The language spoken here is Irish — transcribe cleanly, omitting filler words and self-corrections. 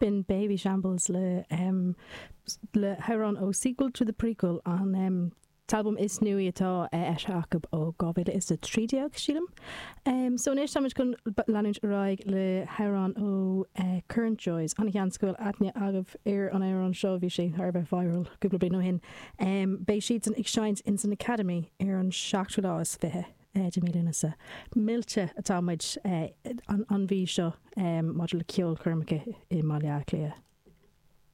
B'in Babyshambles le le hamhrán ó Sequel to the Prequel, an t-albam is nuaí atá eisithe acu ó 2013, sílim. So anois táimid chun leanúint ar aghaidh le hamhrán ó Current Joys. An-sheans go bhfuil aithne agaibh ar an amhrán seo, bhí sé thar a bheith viral cúpla bliain ó shin. Beidh siadsan ag seinnt ins an Academy ar an seachtú lá is fiche. de mí Lúnasa. Millte atá muid an mhí seo maidir le ceolchoirmeacha i mBaile Átha Cliath.